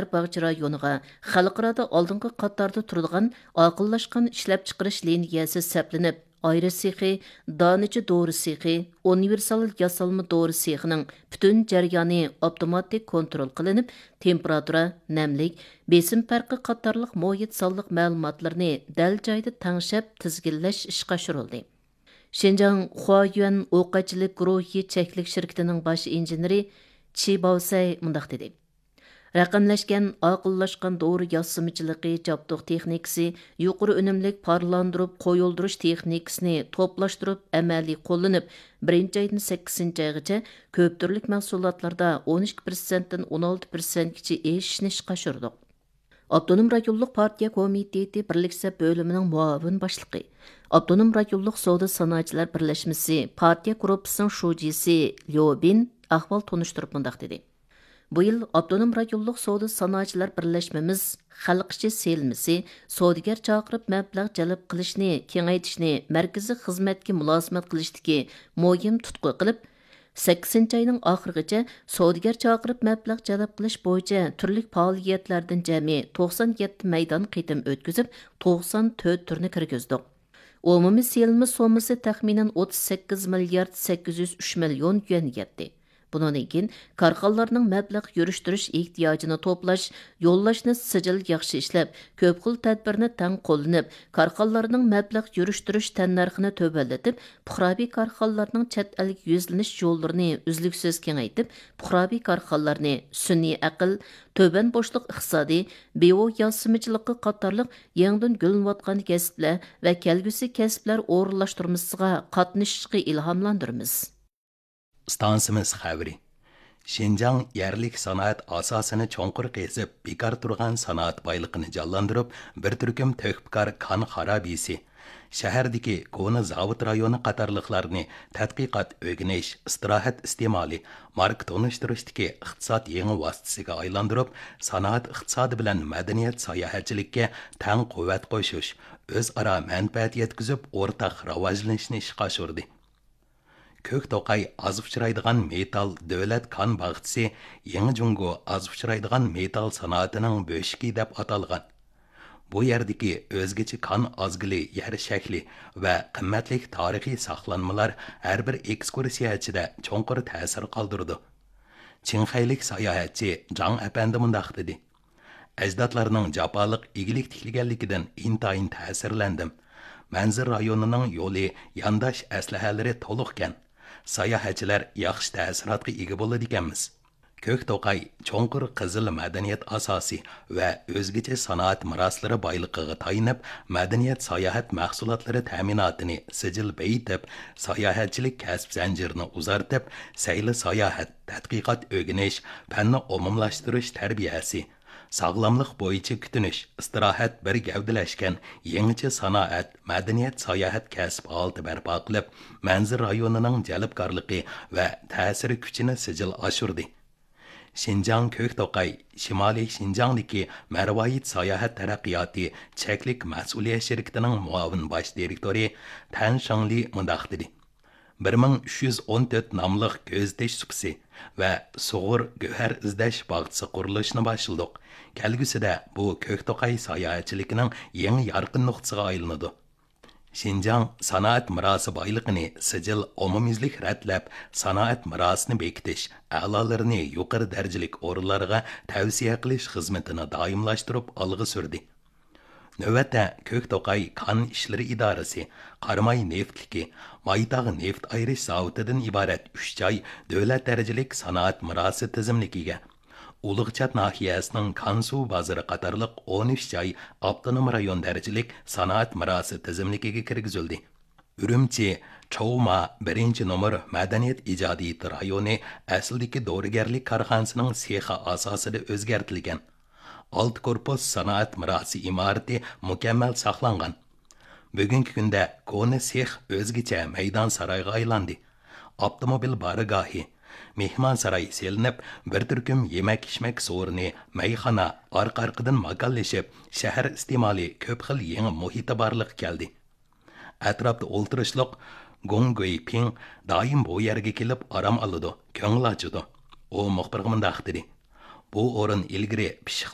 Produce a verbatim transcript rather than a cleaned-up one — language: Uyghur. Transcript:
باغچە رايونىغا خەلقئارادا ئالدىنقى قاتاردا تۇرىدىغان ئاقىللاشقان ئىشلەپچىقىرىش لىنىيەسى سەپلىنىپ، ئايرا سېخى، دانىچە دورا سېخى، ئۇنىۋېرسال ياسالما دورا سېخىنىڭ پۈتۈن جەريانى ئاپتوماتىك كونترول قىلىنىپ، تېمپېراتۇرا، نەملىك، بېسىم پەرقى قاتارلىق مۇھىت سانلىق مەلۇماتلىرىنى دەل جايدا تەڭشەپ تىزگىنلەش ئىشقا ئاشۇرۇلدى. شىنجاڭ خۇايۈەن ئوقەتچىلىك گۇرۇھى چەكلىك شىركىتىنىڭ باش ئىنژېنېرى چى باۋسەي مۇنداق دېدى: رەقەملەشكەن ئاقىللاشقان دورا ياسىمىچىلىقى جابدۇق تېخنىكىسى، يۇقىرى ئۈنۈملۈك پارلاندۇرۇپ قويۇلدۇرۇش تېخنىكىسىنى توپلاشتۇرۇپ ئەمەلىي قوللىنىپ، بىرىنچى ئايدىن سەككىزىنچى ئايغىچە كۆپ تۈرلۈك مەھسۇلاتلاردا ئون ئىككى پىرسەنتتىن ئون ئالتە پىرسەنتكىچە ئېشىشنى ئىشقا ئاشۇردۇق. ئاپتونوم رايونلۇق پارتىيە كومىتېتى بىرلىك سەپ بۆلۈمىنىڭ مۇئاۋىن باشلىقى، ئاپتونوم رايونلۇق سودا سانائەتچىلەر بىرلەشمىسى پارتىيە گۇرۇپپىسىنىڭ شۇجىسى ليو بىن ئەھۋال تونۇشتۇرۇپ مۇنداق دېدى: بۇ يىل ئاپتونوم رايونلۇق سودا سانائەتچىلەر بىرلەشمىمىز خەلق ئىچى سېلىنمىسى، سودىگەر چاقىرىپ مەبلەغ جەلپ قىلىشنى كېڭەيتىشنى مەركىزىي خىزمەتكە مۇلازىمەت قىلىشتىكى مۇھىم تۇتقا قىلىپ، سەككىزىنچى ئاينىڭ ئاخىرىغىچە سودىگەر چاقىرىپ مەبلەغ جەلپ قىلىش بويىچە تۈرلۈك پائالىيەتلەردىن جەمئىي توقسان يەتتە مەيدان قېتىم ئۆتكۈزۈپ، توقسان تۆت تۈرنى كىرگۈزدۇق. ئومۇمىي سېلىنما سوممىسى تەخمىنەن ئوتتۇز سەككىز مىليارد سەككىز يۈز ئۈچ مىليون يۈەنگە يەتتى. بۇنىڭدىن كېيىن كارخانىلارنىڭ مەبلەغ يۈرۈشتۈرۈش ئېھتىياجىنى توپلاش، يوللاشنى سىجىل ياخشى ئىشلەپ، كۆپ خىل تەدبىرنى تەڭ قوللىنىپ، كارخانىلارنىڭ مەبلەغ يۈرۈشتۈرۈش تەننەرخىنى تۆۋەنلىتىپ، پۇقراۋى كارخانىلارنىڭ چەت ئەلگە يۈزلىنىش يوللىرىنى ئۈزلۈكسىز كېڭەيتىپ، پۇقراۋى كارخانىلارنى سۈنئىي ئەقىل، تۆۋەن بوشلۇق ئىقتىسادى، بىئو ياسىمىچىلىقى قاتارلىق يېڭىدىن گۈللىنىۋاتقان كەسىپلەر ۋە كەلگۈسى كەسىپلەر ئورۇنلاشتۇرمىسىغا قاتنىشىشقا ئىلھاملاندۇرىمىز. ئىستانسىمىز خەۋىرى. شىنجاڭ يەرلىك سانائەت ئاساسىنى چوڭقۇر قېزىپ، بىكار تۇرغان سانائەت بايلىقىنى جانلاندۇرۇپ، بىر تۈركۈم تۆھپىكار كان خارابىسى، شەھەردىكى كونا زاۋۇت رايونى قاتارلىقلارنى تەتقىقات، ئۆگىنىش، ئىستىراھەت ئىستېمالى، ماركا تونۇشتۇرۇشتىكى ئىقتىساد يېڭى ۋاسىتىسىگە ئايلاندۇرۇپ، سانائەت ئىقتىسادى بىلەن مەدەنىيەت ساياھەتچىلىككە تەڭ قۇۋۋەت قوشۇش، ئۆزئارا مەنپەئەت يەتكۈزۈپ، ئورتاق راۋاجلىنىشنى ئىشقا ئاشۇردى. كۆك توقاي ئاز ئۇچرايدىغان مېتال دۆلەت كان باغچىسى يېڭى جۇڭگو ئاز ئۇچرايدىغان مېتال سانائىتىنىڭ بۆشۈكى دەپ ئاتالغان. بۇ يەردىكى ئۆزگىچە كان ئازگىلى يەر شەكلى ۋە قىممەتلىك تارىخىي ساقلانمىلار ھەر بىر ئېكسكۇرسىيەچىدە چوڭقۇر تەسىر قالدۇرىدۇ. چىڭخەيلىك ساياھەتچى جاڭ ئەپەندى مۇنداق دېدى: ئەجدادلارنىڭ جاپالىق ئىگىلىك تىكلىگەنلىكىدىن ئىنتايىن تەسىرلەندىم. مەنزىرە رايونىنىڭ يولى يانداش ئەسلىھەلىرى تولۇقكەن. ساياھەتچىلەر ياخشى تەسىراتقا ئىگە بولىدىكەنمىز. كۆك توقاي چوڭقۇر قىزىل مەدەنىيەت ئاساسى ۋە ئۆزگىچە سانائەت مىراسلىرى بايلىقىغا تايىنىپ، مەدەنىيەت ساياھەت مەھسۇلاتلىرى تەمىناتىنى سىجىل بېيىتىپ، ساياھەتچىلىك كەسىپ زەنجىرىنى ئۇزارتىپ، سەيلە ساياھەت، تەتقىقات ئۆگىنىش، پەننى ئومۇملاشتۇرۇش تەربىيەسى، ساغلاملىق بويىچە كۈتۈنۈش، ئىستىراھەت بىر گەۋدىلەشكەن يېڭىچە سانائەت، مەدەنىيەت ساياھەت كەسىپ ھالىتى بەرپا قىلىپ، مەنزىرە رايونىنىڭ جەلپكارلىقى ۋە تەسىر كۈچىنى سىجىل ئاشۇردى. شىنجاڭ كۆك توقاي شىمالىي شىنجاڭدىكى مەرۋايىت ساياھەت تەرەققىياتى چەكلىك مەسئۇلىيەت شىركىتىنىڭ مۇئاۋىن باش دىرېكتورى تەن شېڭلى مۇنداق دېدى: بىر مىڭ ئۈچ يۈز ئون تۆت ناملىق كۆزىتىش سۇپىسى ۋە سۇغۇر گۆھەر ئىزدەش باغچىسى قۇرۇلۇشىنى باشلىدۇق. كەلگۈسىدە بۇ كۆك توقاي ساياھەتچىلىكىنىڭ يېڭى يارقىن نۇقتىسىغا ئايلىنىدۇ. شىنجاڭ سانائەت مىراسى بايلىقىنى سىجىل ئومۇميۈزلۈك رەتلەپ، سانائەت مىراسىنى بېكىتىش، ئەلالىرىنى يۇقىرى دەرىجىلىك ئورۇنلارغا تەۋسىيە قىلىش خىزمىتىنى دائىملاشتۇرۇپ ئالغا سۈردى. نۆۋەتتە، كۆك توقاي كان ئىشلىرى ئىدارىسى، قاراماي نېفىتلىكى، مايتاغ نېفىت ئايرىش زاۋۇتىدىن ئىبارەت ئۈچ جاي دۆلەت دەرىجىلىك سانائەت مىراسى تىزىملىكىگە، ئۇلۇغچات ناھىيەسىنىڭ كانسۇ بازىرى قاتارلىق ئون ئۈچ جاي ئاپتونوم رايون دەرىجىلىك سانائەت مىراسى تىزىملىكىگە كىرگۈزۈلدى. ئۈرۈمچى چوۋما بىرىنچى نومۇر مەدەنىيەت ئىجادىيىتى رايونى ئەسلىدىكى دورىگەرلىك كارخانىسىنىڭ سېخى ئاساسىدا ئۆزگەرتىلگەن. ئالتە كورپۇس سانائەت مىراسى ئىمارىتى مۇكەممەل ساقلانغان. بۈگۈنكى كۈندە كونا سېخ ئۆزگىچە مەيدان سارايغا ئايلاندى. ئاپتوموبىل بارگاھى، مېھمانساراي سېلىنىپ، بىر تۈركۈم يېمەك-ئىچمەك سورۇنى، مەيخانا ئارقا-ئارقىدىن ماكانلىشىپ، شەھەر ئىستېمالى كۆپ خىل يېڭى مۇھىتى بارلىققا كەلدى. ئەتراپتا ئولتۇرۇشلۇق گۇڭ گۇيپىڭ دائىم بۇ يەرگە كېلىپ ئارام ئالىدۇ، كۆڭۈل ئاچىدۇ. ئۇ مۇخبىرغا مۇنداق دېدى: ئۇ ئورۇن ئىلگىرى پىششىق